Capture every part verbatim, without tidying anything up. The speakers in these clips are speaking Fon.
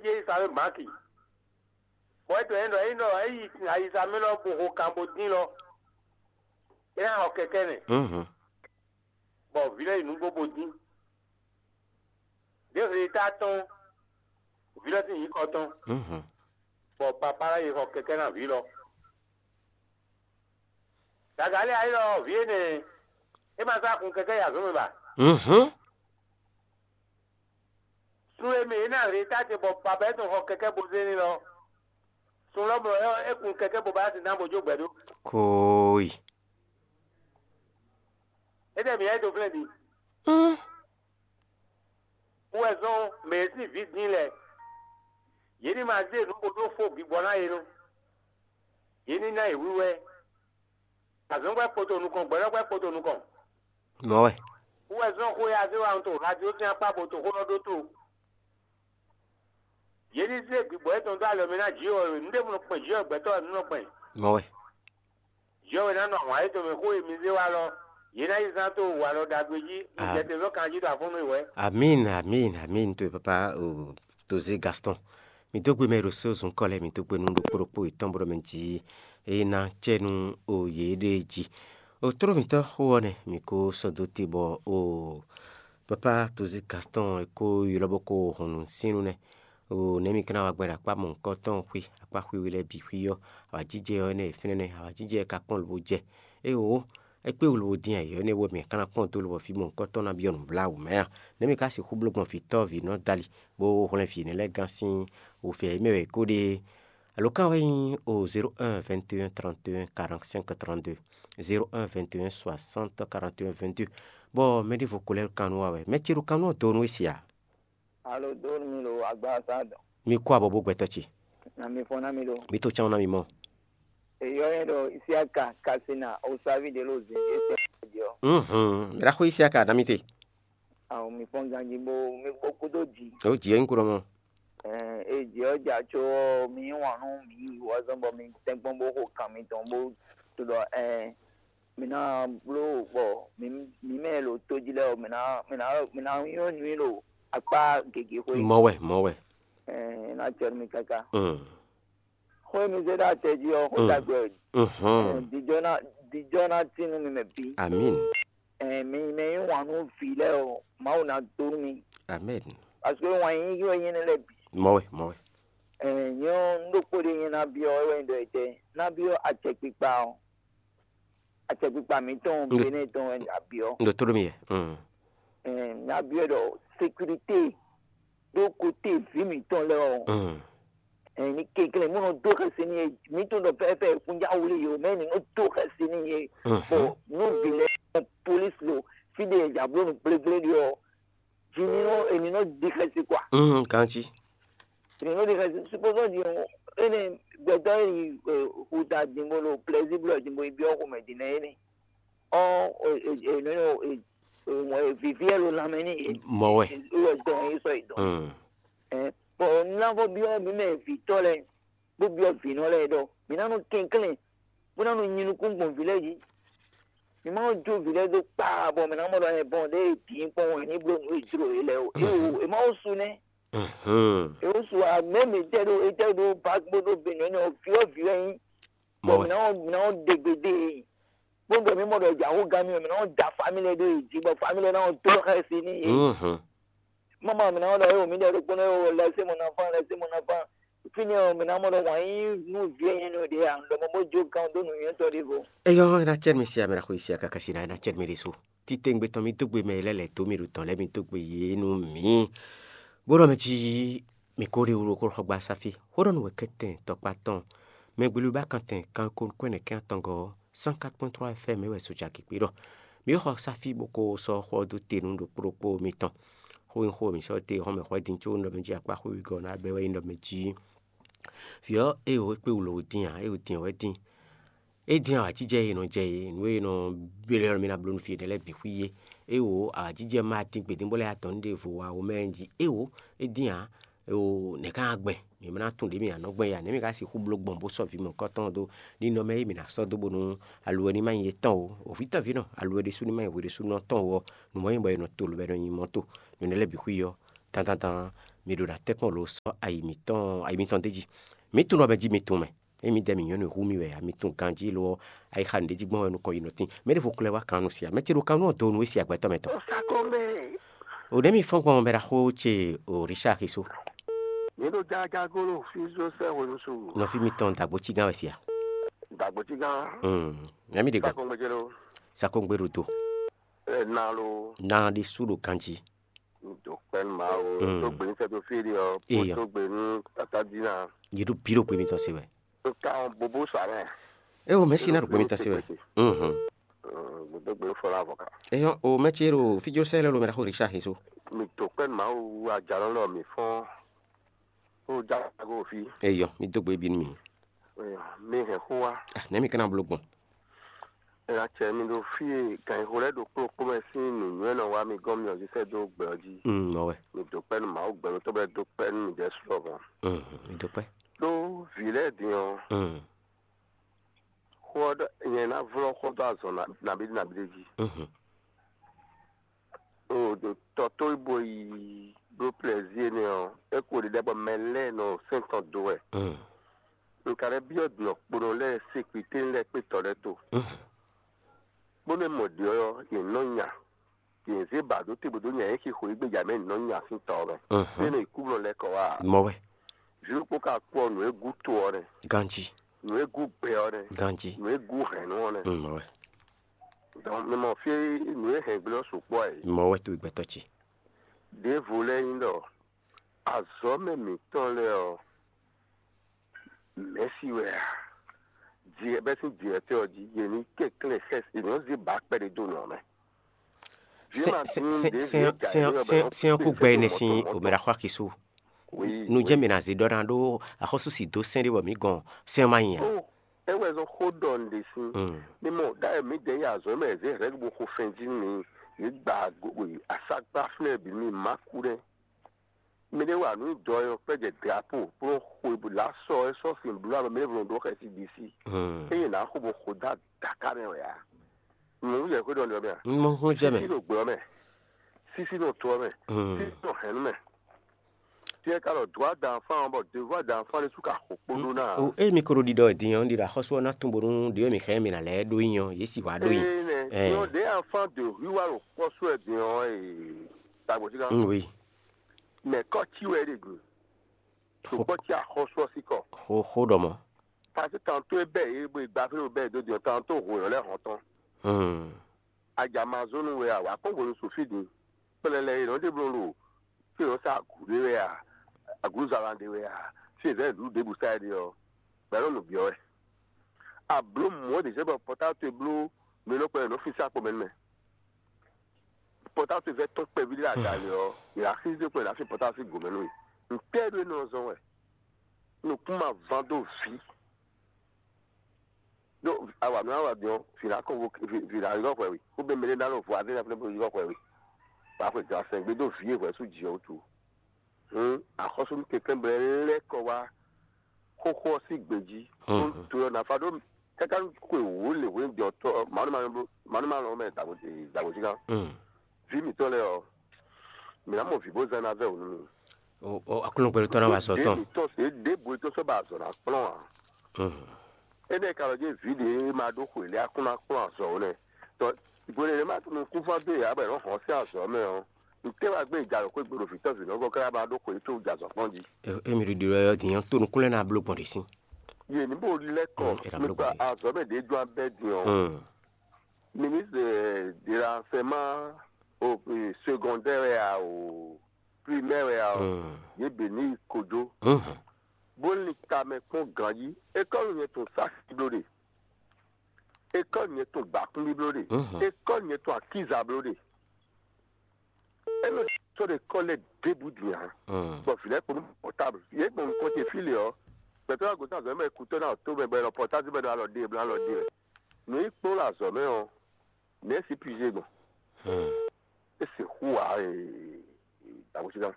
Jé sa wé Maki. Bɔ é to ɛ ɖɔ é ɖɔ é yi ayiza mɛ lɔ bo ho kan bo dín lɔ. É ná xɔ kɛkɛ́ nɛ, bɔ vǐ lɔ yi nǔgbó bo dín. Ɖěvo ta tɔn, vǐ lɔ sín nyǐkɔ tɔn, bɔ papá lɔ yi xɔ kɛkɛ́ ná vǐ lɔ. Gaga lé ayé lɔ vǐ énɛ́, é ma sá kun kɛkɛ́ yi azɔ̌ mɛ ba? Sun e mɛ yě ná hɛn ta ce bɔ baba é tɔn xɔ kɛkɛ́ bo zé ní lɔ, sun lɔ mlɔ é kun kɛkɛ́ bo ba sin ná bo jó gbɛ ɖó. Kooyi. Étɛ́ mǐ yá é dó flɛ́n din? Kú wɛ zɔ́n mɛ e sín vǐ dín lɛ́ɛ. Yě ní ma zé nǔ bo ɖó fó gbigbɔ ná yě nú. Yě ní ná yě wíwɛ́. Azɔ̌ngbɛ́ kpoto nukɔn, gbɛɖɔ́gbɛ́ kpoto nukɔn. Mɔ̌ wɛ. Kú wɛ zɔ́n xó e Azéwanu to radio sín akpá bo to xó nɔ ɖótó. Yě ní zé gbigbɔ yětɔn dó alɔ mɛ ná Jǐ ɔ́, nǔ ɖěbǔ nɔ kpɛn Jǐ ɔ́, gbɛtɔ́ ɔ́ nɔ kpɛn. Mɔ̌ wɛ. Jǐ ɔ́ wɛ ná nɔ ahwan yětɔn mɛ xó e mi zé wá lɔ, yě ná yi zán tó walɔ ɖagbe jí, mi jɛ te zɔ́n kanjí ɖo afɔ́nú e wɛ. Amín, amín, amín. To papa o, Tozé Gaston. Mi dó gbe mɛ ɖo sózun kɔ lɛ́ɛ, mi dó gbe nú ɖokpó ɖokpó yětɔn bó ɖɔ mɛ jí é ná cɛ nú o yěɖée jí. O tló mǐtɔn xó ɔ́ nɛ́, mǐ ko sɔ́ dó te bɔ o papa Tozé Gaston é ko ylɔ́ bó ko hɔn nǔ sín nú nɛ́. O nɛ̌ mi ka ná wa gbɛn ɖo akpá mɔ̌hunkɔtɔn xwí, akpá xwíxwí lɛ́ɛ bǐ xwí ɔ́, awǎjijɛ ɔ́ nɛ́ fínɛ́ nɛ́, awǎjijɛ ka kpɔ́n lobo jɛ. Éeǒ, é kpé wǔ lobo dín ayǐ ɔ́ nɛ́ wɛ mǐ ka ná kpɔ́n dó lobɔ fí mɔ̌hunkɔtɔn ná byɔ́ nǔbláwǔ mɛ a? Nɛ̌ mi ka sixú bló gbɔn vǐtɔ́ vǐnɔ dali, bó hwlɛ́n vǐ énɛ́ lɛ́ɛ gán sín wǔvɛ́ e mɛ wɛ é ko ɖe? Alo kan wɛ nyí o zéro un vingt et un trente et un quarante-cinq trente-deux, zéro un vingt et un soixante quarante et un vingt-deux. Bɔ mɛ ɖěvo ko lɛ́ kan nú wa wɛ. Mɛ ce ɖo kan nú ɔ́ do nú we se a? Alo dó mi ɖo agbaza dɔn. Mi kó abɔ bó gbɛtɔ́ ce. Na mi fɔn ná mi ɖo. Mi to cán ná mi mɔ. Eyɔ yɛ ɖo Isiaka Kasina Osavi ɖe lo zin ɖe tɛ ɔ́. Mhm. Mira xo Isiaka na mi te. Awo mi fɔn ganji bo mi bo kudo ji. O ji en kuro mo. Eh, e ji ɔ ja tso mi wan nu mi yi wɔ zɔn bɔ mi tɛnkpɔn bo xo kan mi tɔn bo to dɔ eh mi ná bló bɔ mi mi mɛ lo to ji lɛ o mi ná mi ná mi ná yɔ nui lo akpa gege xwe. Mɔ wɛ, mɔ wɛ. Eh, na tsɛ mi kaka. Mm. Xó e mi zé ɖó atɛ jí ɔ́, xó ɖagbe wɛ. Mhm. Dijɔ ná dijɔ ná tín nú mi mɛ bǐ. Amin. Ɛn mi mɛ yí wǎn nú vǐ lɛ́ɛ ɔ́, Mawu ná dó nú mi. Amin. Parce que wǎn yíyí wɛ nyɛ nɛ́ lɛ́ɛ bǐ. Mɔ̌ wɛ, mɔ̌ wɛ. Ɛn nyɛ ɔ́, un ɖokpó ɖé nyɛ ná byɔ́ wɛ wɛ un ɖɔ etɛ́. Ná byɔ́ acɛkpikpa ɔ́. Acɛkpikpa mǐtɔn Ndo- Benɛ́ tɔn wɛ un ɖo abyɔ́. Un ɖo tló ɖó mi yɛ. Mm. Ɛn ná byɔ́ ɖɔ sécurité ɖó kote vǐ mǐtɔn lɛ́ɛ ɔ́. Mm. Ɛn ní kɛnklɛ́n mú nɔ dó xɛsi n'i é, mǐtɔn ɖɔ fɛ́fɛ́ kúnjá wlí yě o, mɛ ní nɔ dó xɛsi n'i é. Mhm. Bɔ nú vǐ lɛ́ɛ kpɔ́n polísi lo fí ɖé e jabló nǔ gblégblé ɖe ɔ́, jí ní nɔ èmi nɔ di xɛsi kɔa? Mm, kanci. Èmi nɔ di xɛsi supposons di ɔ́, ene gbɛtɔ́ e yi xuta din bó lo plɛzíblɔ din bó yi byɔ́ xomɛ din nɛ énɛ́. Ɔ́, e e e nɔ e e e vivi ɛ lo lanmɛ ní e Mɔ̌ wɛ. E wɛ dɔn e sɔ yi dɔn. Mm. Ɛ bɔ navɔ byɔ́ mi mɛ vǐtɔ́ lɛ bó byɔ́ vǐnɔ lɛ ɖɔ mi ná nɔ kɛnklɛ́n bó ná nɔ nyi nukún gbɔn vǐ lɛ́ɛ jí. Mi má nɔ jó vǐ lɛ́ɛ dó kpaa bɔ mi ná mɔ ɖɔ ɛ bɔn ɖé e dín kpɔn wɛ ní bló nǔ e jló e lɛ o. E o e má wo su nɛ́. Mhm. E wo su a mɛ mi tɛ ɖo e tɛ ɖo bak bó ɖo benɔ nɛ o fyɔ vǐ wɛ nyí. Mɔ̌ Bɔ wɛ. Mi ná mi ná ɖe gbe dé e. Bó ɖɔ mi mɔ ɖɔ jǎxó gán mi mi ná da famílɛ ɖó e jí bɔ famílɛ ná dó xɛsi ní e. Mhm. Mama mi na ɔ́ ɖɔ é wǒ mì ɖɔ ɖokpónɔ é wǒ lɛ́ sé mo ná fán lɛ́ sé mo ná fán. Fínɛ́ ɔ́, mi ná mɔ ɖɔ wǎn yí nú vǐ e nyɛ nɔ ɖě ǎ, un ɖɔ mɔ bó jó gán dó nǔnywɛ́tɔ́ ɖěvo. Eyɔ ena cɛ́ mi sia mɛ na xo sia kaka si na ena cɛ́ mi ɖésú. Títengbe tɔn mi dó gbe mɛ lɛ́ lɛ̌ dó mi ɖo tɔn lɛ́ mi dó gbe yě nú mǐ. Bó ɖɔ mɛ jí mi ko ɖe wlo kó xɔ gba sáfí. Xó ɖɔ nú wɛ kɛ́tɛn tɔkpá tɔn. Mɛ gbelu ba kantɛn kan ko kwɛ́nɛ kɛ́n atɔngɔ́ ɔ́, cent quatre point trois F M é wɛ soja kikpi ɖɔ. Mi xɔ sáfí bó ko sɔ́ xɔ dó te nú ɖokpó ɖokpó mitɔn. Xó nyí xó mǐ sɔ́ te hɔn mɛ xwɛ din có un ɖɔ mɛ jí akpá xwé wegɔ́ ná bɛ́ wɛ nyí ɖɔ mɛ jí. Vǐ ɔ́, é wǒ é kpé wǔ lǒ dín ǎ, é wǒ dín wɛ dín. É dín awǎjijɛ e è nɔ jɛ é, nǔ e è nɔ bló ɔ́, mi ná bló nú fí énɛ́ lɛ́ɛ bǐ xwí é. É wǒ awǎjijɛ ma dín gbědín bó lɛ́ adɔn ní ɖěvo wa wǒ mɛ jí. É wǒ é dín ǎ. O nɛ̌ ká ná gbɛn? Mǐ ma ná tunwun ɖě mǐ ná nɔ gbɛn ya, nɛ̌ mǐ ka sixú bló gbɔn bó sɔ́ vǐ mɔ̌hunkɔtɔn ɔ́ dó? Ninɔmɛ e mǐ ná sɔ́ dó bónú aluwɛ ní ma nyí yětɔn ó, o vǐtɔ́vǐnɔ, aluwɛ ɖésú ní ma nyí hwe ɖésúnɔ tɔn ó ɔ́, nǔ mɔ̌ nyí bɔ è nɔ to lǒ bɔ è nɔ nyi mɔ̌ to. Nǔ énɛ́ lɛ́ɛ bǐ xwí ɔ́, dandan Mi ɖo ná tɛ́nkpɔ́n lo sɔ́ ayi mǐtɔn ayi mitɔn d'é jí. Mǐ tunwun ɖɔ mɛ jí mi tunwun mɛ. Ényí mi ɖɔ mǐ nyɔ́ nǔ hu mì wɛ ǎ, mi tunwun ganjí lo ɔ́, ayixa nǔɖéjígbɔ́n wɛ nukɔn yi nɔ tín. Mɛɖěvo xlɛ́ wá kan nú sia, mɛ ce ɖo kan nú ɔ́ do nú é sia gbɛtɔ́ mɛ tɔn. Sakɔmɛ. O ɖɛ̌ mi fɔ́n gbɔn mɛ ɖaxó ce o Richard Xiso. Nyɛ ɖo jajagolo fí zó sɛ hwenu su. Nɔví mitɔn dagbo cígán wɛ sia. Dagbo cígán. Hmm. Mɛ mi ɖe gbɛ. Sakɔmɛ jɛ lo. Sakɔmɛ ɖo do. Ɛ na lo. Na ɖe su ɖo ganjí. Do kpɛn ma o. Hmm. Tó gbé ní sɛ tó fí ɖi ɔ. Eyɔ. Tó gbé ní tata dina. Yě ɖo bí ɖo gbé mitɔn se wɛ. Nka ɔn bobo sa mɛ. E o mɛ si na ɖo gbé mitɔn se wɛ. Mhm. Gbɔdɔ gbé fɔ la vɔ kan. Eyɔ o mɛ ce ɖo fíjó sɛ lɛ lo mɛ ɖaxó Richard Xiso. Mi to kpɛn ma o ajalɔ lɔ mi fɔn. Ó já go fi. Eyɔ mi dó gbé bí nú mi. Eyɔ mi hɛn xó wa. Ah, nɛ mi kana bló gbɔn. Ela cɛ mi ɖo fí e gǎnxó lɛ́ɛ ɖo kplɔ́kplɔ́ mɛ sín nǔnywɛ́ nɔ wá mi gɔ́n mi ɔ́ sɛ́ dó gbɛ ɔ́ jí. Mm, mɔ wɛ. Mi dó kpɛ́ nú Mawu gbɛmɛ tɔn bɔ é dó kpɛ́ nú mi ɖɛ̌ su lɔmɔ̌. Mm, mi dó kpɛ́. Ɖó vǐ lɛ́ɛ din ɔ́, Mm, xó ɔ́ ɖɔ nyɛ ná vlɔ́ xó dó azɔn nabí nabí ɖé jí. Mm, O ɖo tɔ tó yi bo yi bló plɛzíe nɛ́ ɔ́, é ko ɖiɖɛ bɔ mɛ lɛ́ɛ nɔ sɛn tɔn dó wɛ. Mm, Un ka lɛ́ byɔ́ ɖɔ kponɔ lɛ́ɛ se kpitɛ́n lɛ́ɛ kpé tɔ lɛ́ɛ to, mm, bónú é mɔ ɖě ɔ́, yě nɔ nya. Yě zé ba ɖó te bó dó nya é xixo e gbéjà mɛ nɔ nya sín tɔ ɔ́ mɛ. Bó Mm, nɔ yi kú blɔ lɛ́ kɔ wá. Mɔ wɛ. Vǐ ɖokpó ka kpɔ́ nǔ e gú to ɔ́ nɛ́, Ganjí. Nǔ e gú gbɛ ɔ́ nɛ́, Ganjí. Nǔ e gú hɛ̌nnu ɔ́ nɛ́. Mm, mɔ wɛ. Donc mi mɔ fí e nǔ e hɛn gblé ɔ́ sukpɔ́ ɛ. Mɔ wɛ towe gbɛtɔ́ ce. Ɖěvo lɛ́ɛ nyí ɖɔ azɔ̌mɛ mǐtɔn lɛ́ɛ ɔ́, mɛ̌si wɛ a? Jǐ bɛ́ sín jǐ ɔ́ jí yě ní kɛnklɛ́n xɛ́ yě nɔ zé bǎ kpɛɖé dó nǔ ɔ́ mɛ. Sɛn kú gbɛ énɛ́ sín omɛɖaxó Axisu. Nú jɛ́n mǐ ná zé ɖɔ ná ɖó axɔ́sú si dó sɛn ɖé bɔ mǐ gɔn sɛn ɔ́ ma nyi ǎ. É wɛ zɔn xó ɖɔ un ɖe sín. Mm. Mi mɔ ɖ'ayǐ mǐdɛɛ yi azɔ̌ mɛ zě hɛ̌ bó xo fɛn jí nú mi, yě gba aságbá fínɛ́ bǐ mi má kú nɛ́. Mi ɖé wa nǔ dɔ ɔ́ kpɛ́ jɛ drapo bó nɔ xo lá sɔ é sɔ́ sin bló amɛ mɛ ɖěvo nɔ ɖó xɛsi ɖi sí. Mm. Ényí nǎ xo bó xo dó adǎká mɛ wɛ ǎ. Nǔ yɛ xwé ɖɔ nǔ ɔ́ mɛ a? Un mɔ hún jɛ mɛ. Sísí ɖo gbɛ ɔ́ mɛ, sísí ɖo to ɔ́ mɛ, Mm. sísí ɖo hɛ̌nnu mɛ. Tiɛ ka ɖɔ dǒ adǎnfán ɔ́ bɔ devo adǎnfán ɖésú ka xo kpó ɖó ná. O ée mi ko ɖo ɖiɖɔ din ɔ́, un ɖi ɖɔ axɔ́sú ɔ́ ná tunwun bónú ɖě e mì hɛn mì ná lɛ́ɛ ɖó nyi ɔ́, yě sì wá ɖó nyi. Énɛ́ Ɛɛ. Nyɔ ɖě afán de hwíwá ɖo kpɔ́ sú wɛ din ɔ́, ee, tagbɔ̌ cí ká. Mm, oui. Mɛ kɔ́ cí wɛ é ɖe din. Xo- Sukpɔ́ cí axɔ́sú ɔ́ sí kɔ. Xo xo ɖɔ mɔ̌. Parce que tantôt é bɛ́ yě bó yi gba fí ɖo bɛ́ yě dó din ɔ́, tantôt hwǒ yɔ́ lɛ́ hɔn tɔn. Hmm. Ajamazónu wɛ a, wǎ kpɔ́n hwenu su fí din. Kplɛlɛ e nɔ ɖe bló ɖo fí e nɔ sa agǔ ɖé wɛ a, agǔzala ɖé wɛ a, fí e zɛ̌ nǔɖuɖu ɖěbǔ sa é ɖe ɔ́, bɔ é nɔ nǔ byɔ́ wɛ. A blǒ mɔ̌ ɖě zɛ bɔ pɔtáto e bló nǔ e nɔ kplɔ́n yě nɔ fín sín akpɔ́ mɛ nú mɛ. Pɔtáto e vɛ́ tɔ́n kpɛví ɖé aga lě ɔ́, yě ná xízí kplɔ́n yě ná fín pɔtáto sín gǒ mɛ nú mì. Ntɛ́ɛ ɖó é nɔ zɔ́n wɛ? Nukún ma ván dó vǐ. Ɖó awa nú awa din ɔ́, vǐ ná kɔ vo vǐ ná ylɔ́ hwɛ we, xó bɛ́ mɛɖé ná nɔ vo azé ná fúnɛ́ bó ylɔ́ hwɛ we. Wǎ xwe gan sɛn gbé dó vǐ e hwɛ sú jǐ ɔ́ wútu. Hǔn axɔ́súnú kɛnklɛ́n bɔ é lɛ́ kɔ wá xóxó ɔ́ sín gbe jí, bó to ɔ́ ná fa ɖó káká xwe wǒ lě hwenu din ɔ́ tɔ́ manú manú manú mɛ dǎgbòjigán. Vǐ mǐtɔn lɛ́ɛ ɔ́, mǐ ná mɔ vǐ bó zán ná vɛ́ wǔ nú mi. Aklúnɔgbɛɖótɔ́ ná wa azɔ̌ tɔn. Mǐtɔn se ɖěbǔ e tó sɔ́ ba azɔ̌ ná kplɔ́n ǎ. Énɛ́ ka lɔ jɛ́n vǐ ɖě e ma ɖó xwe lɛ́ɛ a kún ná kplɔ́n azɔ̌ ó nɛ́. Tɔ hwenu e ma nukúnfán dó yě ǎ bɔ è nɔ́ hɔn sín azɔ̌ mɛ ɔ́, ntɛ́ wá gbé e ja ɖo xwé gbe ɖo vǐtɔ́ vǐnɔ́gɔ́ káká ma ɖó xwe tó jɛ azɔ̌ kpɔ́n jí? Émi ɖiɖi wɛ ɔ́ din ɔ́, tónúkún lɛ́ɛ ná bló gbɔn ɖě sín. Yě ní bó lɛ́ kɔ Mm, é ná bló nípa gbɔn ɖě. Azɔ̌ mɛ ɖě jɔ abɛ́ din ɔ́, Mm. Ministre de l'enseignement au secondaire wɛ a o primaire wɛ a o, Mm. Yě bě ní yi kojo. Mhm. Bó ní tamɛ kpɔ́n ganjí. École nyɛ tɔn sási bló ɖe. École nyɛ tɔn gbǎkún bí bló ɖe. Mhm. École nyɛ tɔn akíza bló ɖe. É nɔ sɔ́ ɖo école lɛ́ɛ ɖěbǔ din ǎ. Mm. Bɔ vǐ lɛ́ɛ kpo nú portable. Yě gbɔn nukɔn ce fí lě ɔ́, gbɛtɔ́ ɔ́ gosín azɔ̌ mɛ kútɔ́ ná ɔ́ tó mɛ bɔ è nɔ portable bɛ́ ɖó alɔ ɖe bla alɔ ɖe wɛ. Nǔ e kplɔ́n ɖo azɔ̌ mɛ ɔ́, nɛ̌ sixú pizé gbɔn? Mm. É sixú ǎ ee, dǎgbósíká.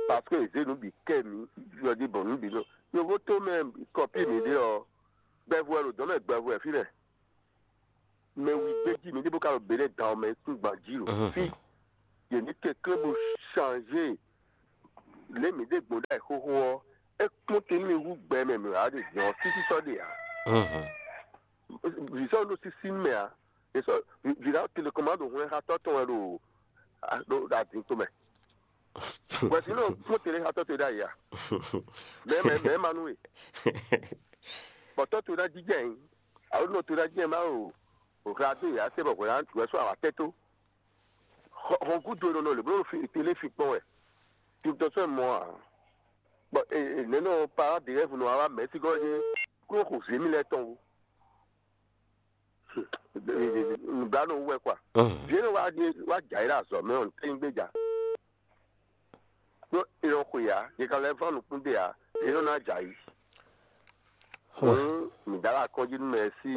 Parce que è zě nǔ bǐ kɛ mǐ, yɔjí bɔ nǔ bǐ nɔ. Yovo tó mɛ kɔpí mǐ ɖe ɔ́, gbɛvu wɛ ɖo dɔ̌n mɛ gbɛvu wɛ fínɛ́. Mɛ wi gbé jí mǐ ɖěvo ka ɖo Benɛ́ dan ɔ́ mɛ kún gban jí ɖo Mhm. fí. Yě ní kɛnklɛ́n bó changé Lě mǐ ɖe gbɔn ɖ'ayǐ xóxó ɔ́, é kpɔ́n te nú mì hú gbɛ mɛ mǐ wá ɖe zɔn sísí sɔ́ ɖe ǎ. Vǐ sɔ́ ɖo sísí mɛ ǎ. È sɔ́ vǐ ɖá telekomándo hwlɛ́n xá tɔ́ tɔn wɛ ɖo ɖo adǐnkpo mɛ. Bɔ vǐ nɔ kpɔ́n te lé xá tɔ́ te ɖ'ayǐ ǎ. Mɛ mɛ mɛ ma nú we. Bɔ tɔ́ te ná jijɛ yín. Alo nɔ te ná jijɛ má o. O hla dó yǎ se bɔ hwɛ ná wɛ sɔ́ awǎ tɛ́ tó. Hɔn gúdo e nɔ nɔ lě bló télé fi kpɔ́n wɛ. Titɔ sɔ́ mɔ ǎ. Bɔ nɛ̌ nɔ pará de rɛ́vu nɔ wá mɛ̌ sí gɔ́ é kúrò xo vǐ mi lɛ́ɛ tɔn wú. Nǔblanú wú wɛ kwa. Vǐ nɔ wá ɖe wá jǎ yi ɖo azɔ̌ mɛ ɔ́, nǔtɛ́ nyí gbéjà. Ɖó è nɔ xwe ǎ, yě ka lɛ́ vɔ́n nukún ɖe ǎ, yě nɔ ná jǎ yi. Hǔn mǐ dá ɖo akɔ́njí nú mɛ e sí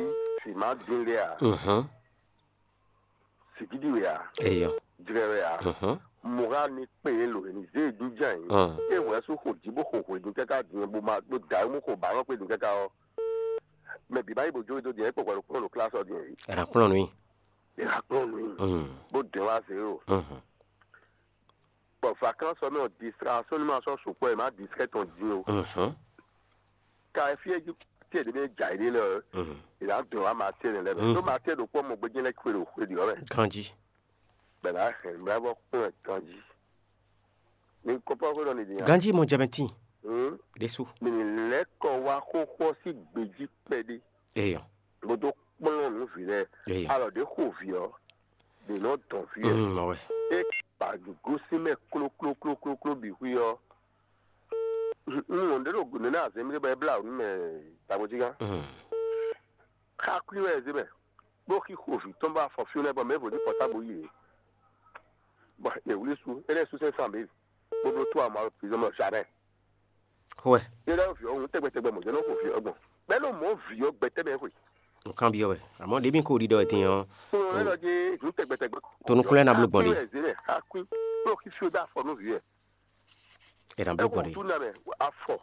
vǐ ma dín lé ǎ. Sǐgídi wɛ ǎ, Eyɔ. Jlɛ wɛ ǎ. Mɔ̌ ní kpe yě lǒ è nǐ zé e jínjɔ́n ayǐ. É hwɛ̌ sú xo jí bó xo hwedun káká din bó ma bó da mú xo bǎ nɔ kpé din káká ɔ́, mɛ bǐ ma yí bó jó dó din é kpɔkpɔ ɖo kplɔ́n ɖo klásɔ din yìí. È nǎ kplɔ́n nú i. È nǎ kplɔ́n nú i. Bó dɛn wá zě o. Bɔ vacances ɔ́ mɛ ɔ́, distraction ní ma sɔ́ sukpɔ́ è má distrɛ tɔn din o. Ka e fí e jí tiɛ ɖě mɛ jǎ yi ɖe lɛ ɔ́, è nǎ dɔn wá matiɛ nɛ lɛ́ɛ mɛ. Ɖó matiɛ ɖokpó ɔ́ mɔ gbéjé lɛ́ kwe ɖo xwe ɖě ɔ́ mɛ. Ganjí. Bɛ nǎ hɛn mlɛ́ bɔ kplɔ́n ɛ ganjí. Ní kɔ́pɔ́ xwe ɖɔ ní din. Ganjí mɔ jɛmɛtín. Ɖésú. Mì ní lɛ́ kɔ wá xóxó ɔ́ sín gbějí kpɛɖé. Eyɔ. Bó dó kplɔ́n nǔ vǐ lɛ́ɛ. Eyɔ. Alɔ ɖě xo vǐ ɔ́, ɖě nɔ dɔn vǐ ɔ́. Mm, mɔ wɛ. É ba gosín mɛ klóklóklókló bǐ xwí ɔ́. Un wɔn ɖé ɖo nǔ nɛ azɛn mi ɖé bɔ é blá nǔ mɛ tagbojigán. Mm. Xakwí wɛ ɛ zé mɛ. Bó xixo vǐ tɔn bɔ afɔ fí lɛ́ɛ bɔ mɛ vo ní pɔtábo yí yě. Bɔ è wlí su, é lɛ́ sú sɛn san bǐ, bó bló tó amɔ alɔ prizɔn mɛ zamɛ. Xwɛ. É lɛ́ vǐ ɔ́ hǔn tɛgbɛtɛgbɛ mɔ̌ jɛ́n nɔ xo vǐ ɔ́ gbɔn. Bɛ́ nɔ mɔ vǐ ɔ́ gbɛtɛ́ mɛ xwe. Nǔkanbyɔ́ wɛ. Àmọ́ ɖě mi ko ɖiɖɔ ɛ din ɔ́. Kplɔn ɛ lɔ dé hǔn tɛgbɛtɛgbɛ. Tonukúnlɛ ná bló gbɔn ɖe. Xakwí wɛ ɛ zé mɛ, xakwí. Bó xixo dó afɔ nú vǐ ɛ. È nǎ bló gbɔn ɖe. Tú na mɛ afɔ.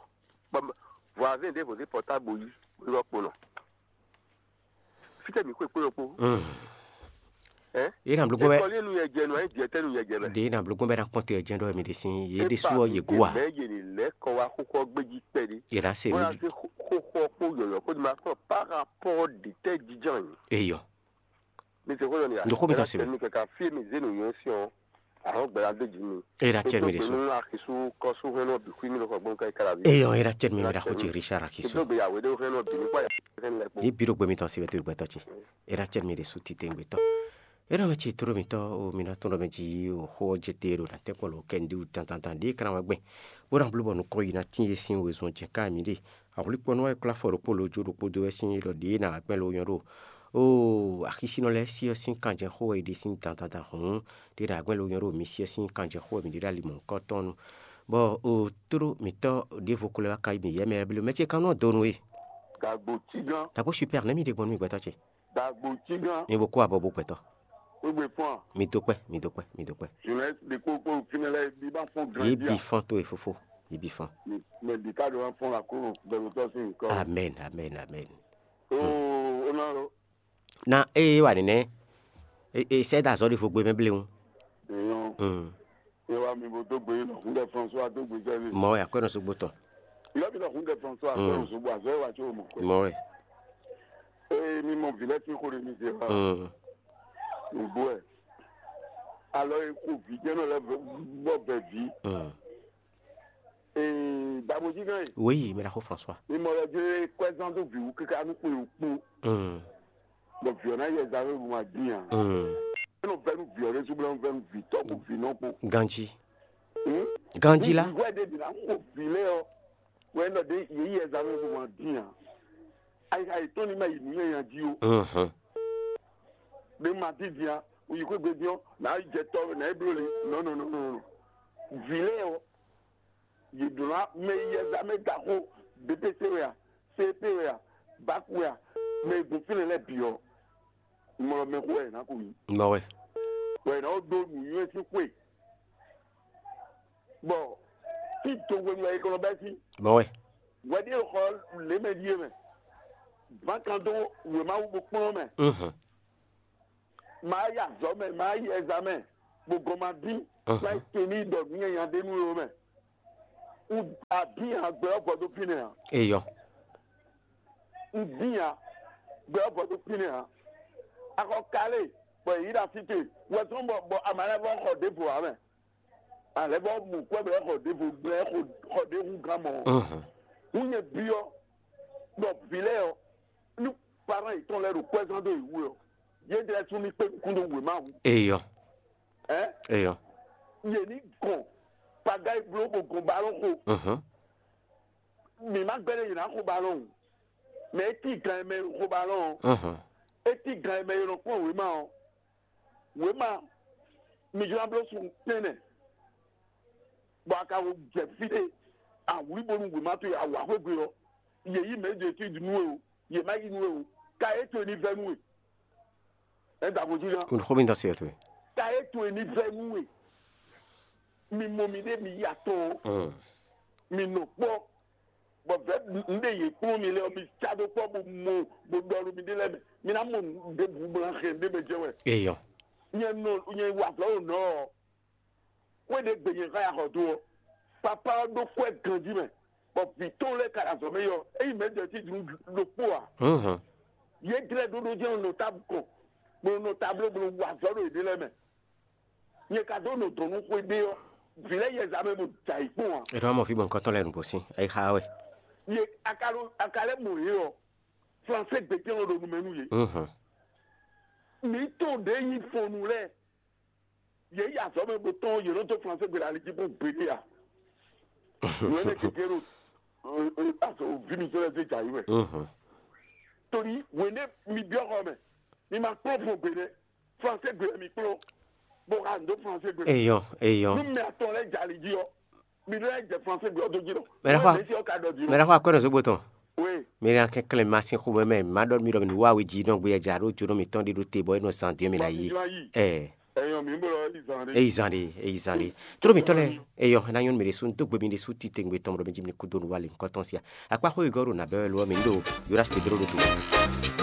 Voisin ɖěvo dé pɔtábo yí, bó yí wá kpo nɔ. Fítɛ́ mǐ xwe kpé yɔ kpó. Mm. Ɛ? Yě na bló gbɔn bɛ. Ekɔli nu yɛ jɛ nu ayi diɛ tɛ nu yɛ jɛ bɛ. Ɖe yě na bló gbɔn bɛ na kpɔn te jɛn ɖɔ mi ɖe sin yě ɖe su ɔ yě gu wa. Mɛ yě ni lɛ kɔ wa xóxó gbéji kpɛ ɖi. Yě na se Wọ́n yà lójú. Ṣe xóxó kpó yọ̀yọ̀ kó di ma kọ́ par rapport de tẹ́ jíjàn yìí. Eyɔ. Mi ṣe kó yọ ni ya. Ndo xó mi tán se mi. Mi kẹ̀kẹ́ fi mi zé nu yẹn sí ọ. Àwọn gbẹ̀rẹ̀ adé jì mi. Era tiẹ̀ mi de so. Nínú àkísú kọ́sú hẹ́n náà bí kú mi lọ́kọ̀ gbọ́n ká ìkàrà bí. Eyɔ era tiẹ̀ mi mi da xó ti Richard àkísú. Ìdógbéyàwó dé hẹ́n náà bí nípa ìyàwó hẹ́n lẹ́kọ̀ọ́. Ní bírò gbé mi tán síbẹ̀ tó ìgbẹ́tọ̀ ce. Era tiẹ̀ mi de so ti tẹ̀ ìgbẹ́tọ̀. Era wɛ ci tóro mi tɔ o mi na tɔn dɔ mɛ ji o xó ɔ́ jɛ te ɖo na tɛ́ kpɔ lo kɛndi wu dandandan ɖi kana wɛ gbɛn. Bó na bló bɔ nukɔ yi na tín e sín wezun jɛ ká mi ɖe. Ahwlíkpɔ́nú wɛ klá afɔ ɖokpó lo jó ɖokpó dó wɛ sín ɖɔ ɖě na gbɛn lo nyɔ ɖo. Oo, axisínɔ lɛ́ɛ sí ɔ́ sín kanjɛxó wɛ è ɖe sín dandandan hǔn, ɖě ɖo agbɛ́n lo nyɔ ɖo mi sí ɔ́ sín kanjɛxó wɛ mǐ ɖe ɖo ali mɔ̌hunkɔtɔn nu. Bɔ o tló mǐtɔn ɖěvo ko lɛ́ wá ka yi mǐ yɛ mɛ lɛ́ɛ bló mɛ ce kan nɔ donu e. Dagbo cí gán. Dagbo super nɛ́ mi ɖe gbɔn nú mi gbɛtɔ́ ce. Dagbo cí gán. Mi bo kó abɔ bo gbɛtɔ́. Wégbé fɔ́n a? Mi dó kpɛ́, mi dó kpɛ́, mi dó kpɛ́. Journaliste ɖe kpó kpó fínɛ́ lɛ́ɛ bí bá fɔ́n gan Yě jí bi a? Fɔ́n tó e fofó, yě bi fɔ́n. Mɛ bí ká ɖo wá fɔ́n la kó bɛ̀rù tɔ́ sí nǹkan. Amen, amen, amen. Oo, ó ná lọ. Na eye wa nínɛ. E e sɛ da azɔ ɖi fo gbe mɛ bléwu. Èèyàn Mm. Ẹ wá mi bó dó gbé yín lọ fún dẹ François dó gbé sẹ́ni. Mɔ ya kwɛ nɔ sugbo tɔn. Ìlọ́ mi lọ fún dẹ François Mm. Kọ́ lọ sugbo àzọ́ ẹ wá tí o mọ̀ pé. Mɔ wɛ. Ee mi mɔ vǐ lɛ tí xo ɖe mi se wá. Mm. Nùgbó ẹ. Alɔ e ko vǐ jẹ́ náà lɛ bọ́ bẹ̀ vǐ. Mm. Ee dàbòjì gan yìí. Oui, mi la ko François. Mi mɔ lɛ dé kwɛzán dó vǐ wú kíká nú kpé wú kpó. Mm. Bɔ vǐ ɔ́ ná yɛ zán lóru ma dín ǎ. Mm. Eno vɛ́ nú vǐ ɔ́ ɖésú bó ná vɛ́ nú vǐ tɔ́ kpó vǐ nɔ kpó. Ganjí. Hmm? Ganjí la. Ní vǐ hwɛ ɖé bǐ ná xo vǐ lɛ́ɛ ɔ́, wɛ nɔ ɖé yě yɛ zán lóru ma dín ǎ. Ayixa yětɔn ní ma yi nǔ nyanya jí ó. Mhm. Ɖé ma dín dín á, wò yi xwé gbe dín ɔ́, nǎ yi jɛ tɔ́ nǎ yi bló li. Nɔ nɔ nɔ nɔ nɔ. Vǐ lɛ́ɛ ɔ́, yě ɖó ná mɛ yi yɛ zán mɛ ɖaxó, B P C wɛ a, C P wɛ a, bak wɛ a, mɛ e gbɔn fínɛ́ lɛ́ɛ bǐ ɔ́, mlɔ mɛ xó wɛ yě ná ko yí. Mɔ wɛ. Wɛ yě ná ko dó nǔnywɛ́ sín xwé. Bɔ fí do hwenu wɛ è kɔ nɔ bɛ́ sín. Mɔ wɛ. Wɛ ɖíe xɔ lě mɛ ɖíe mɛ. Ván kan dó wěma wú bó kplɔ́n mɛ. Mhm. Maa yi azɔ̌ mɛ, maa yi ɛzamɛ, bó gɔn ma dín, Mhm. maa yi tɛn ní ɖɔ nǔ nyanya ɖé nú we mɛ. Un abin a gbɛ ɔ́ vɔ dó fínɛ́ ǎ. Eyɔ. Un dín ǎ. Gbɛ ɔ́ vɔ dó fínɛ́ ǎ. Axɔ kalé bɔ yě yí ɖo así te wɛ zɔn bɔ bɔ ama lɛ́ɛ vɔ xɔ ɖěvo ǎ mɛ. Alɛ vɔ mɔ kwɛ bɔ xɔ ɖěvo gblɛ xɔ xɔ ɖě hu gán mɔ. Mhm. Un nyɛ byɔ́ ɖɔ vǐ lɛ́ɛ ɔ́ ní parán yětɔn lɛ́ɛ ɖo kwɛ́zán dó yě wú ɔ́, yě ɖɛ́ sú ní kpé nukún dó wěma wú. Eyɔ. Ɛ Eyɔ. Yě ní gɔn paga e bló bó gɔn balɔn xo. Mhm. Mǐ má gbɛ́ ɖé yě ná xo balɔn o. Mɛ é cí gan e mɛ e xo balɔn ɔ́, Mhm. É cí gan e mɛ e nɔ kpɔ́n wěma ɔ́. Wěma mi jló ná bló sun tɛ́nnɛ, bɔ a ka wo jɛ fí ɖé, a wlí bónú wěma towe a wǎ xwé gbe ɔ́, yě yí mɛ ɖě tí nú we o, yě má yí nú we o, ka é towe ní vɛ́ nú we. Ɛ da vodíná. Un xó mi da se towe. Ka é towe ní vɛ́ nú we. Mi mɔ mi ɖé mi yi atɔn ɔ́, Mm. Mi nɔ kpɔ́, bɔ vɛ̌ nú ɖe yě kplɔ́n mi lɛ́ɛ ɔ́, mi cá dó kpɔ́ bó mɔ bó ɖɔ nú mi ɖé lɛ́ɛ mɛ. Mi ná mɔ nǔ ɖěbǔ bó ná hɛn ɖé mɛ jɛ wɛ. Eyɔ. Nyɛ nɔ nyɛ wa azɔ̌ ɖo nɔ ɔ́, xwé ɖé gbe nyɛ xá ya xɔ dó ɔ́, papá ɔ́ ɖó kwɛ́ ganjí mɛ, bɔ vǐ tɔn lɛ́ɛ ka ɖo azɔ̌ mɛ yɔ, é yi mɛ jɛ tí dunu ɖokpó ǎ. Mhm. Yě glɛ́ ɖóɖó jɛ́n nɔ tábú kɔn, bó nɔ tábló bó nɔ wa azɔ̌ ɖo yěɖée lɛ́ɛ mɛ. Nyɛ ka dó nɔ dɔn nú xwé ɖé ɔ́, vǐ lɛ́ɛ yɛza mɛ bó da yi kpɔ́n ǎ. È nɔ mɔ fí gbɔn kɔ́tɔn lɛ́ɛ nǔgbó sín, é xá wɛ. Ye aka ɖo aka lɛ́ mɔ yě ɔ́, Flansé gbětɛ́n ɔ́ ɖo nu mɛ nú yě. Mhm. Mǐ tɔn ɖě nyí fɔnnu lɛ́ɛ, yě yi azɔ̌ mɛ bó tɔn yě nɔ dó Flansé gbe ɖo ali jí kpɔ́n gbeɖé ǎ. Nǔ énɛ́ gěgé ɖo azɔ vǐ mi sɔ́ lɛ́ zé jǎ yi wɛ. Mhm. Torí wěnɛ́ mi byɔ́ xɔ mɛ, mi ma kplɔ́n fɔn gbe nɛ́. Flansé gbe wɛ mi kplɔ́n, bó xa nǔ dó Flansé gbe. Eyɔ, eyɔ. Nú mɛ atɔn lɛ́ɛ jɛ ali jí ɔ́, mi lɛ́ jɛ Flansé gbe ɔ́ dó jí nɔ. Mɛ ɖé xɔ Mɛsí ɔ́ ka ɖɔ jí nɔ. Mɛ ɖé xɔ akɔ́ nɔ zógbó tɔn. Oui. Mi ɖe akɛnklɛn ma sín xomɛ mɛ, má ɖɔ mi ɖɔ mi ní wá we jí nɔ gbé ya jǎ ɖó jónɔ mitɔn ɖé ɖó te bɔ é nɔ zan dín mi ná yí. Ɛ. Eyɔ mi bɔ yi zan ɖé. Eyi zan ɖé, eyi zan ɖé. Tró mitɔn lɛ, eyɔ ná nyɔnu mi ɖésú, dó gbe mi ɖésú titewungbe tɔn ɖɔ mi jí mi kú dó nu wá lě nukɔntɔn sia. Akpá xó yi gɔ́ ɖo nǎ bɛ́ wɛ lo ɔ́, mi ní ɖo Jonas Pedro ɖo to.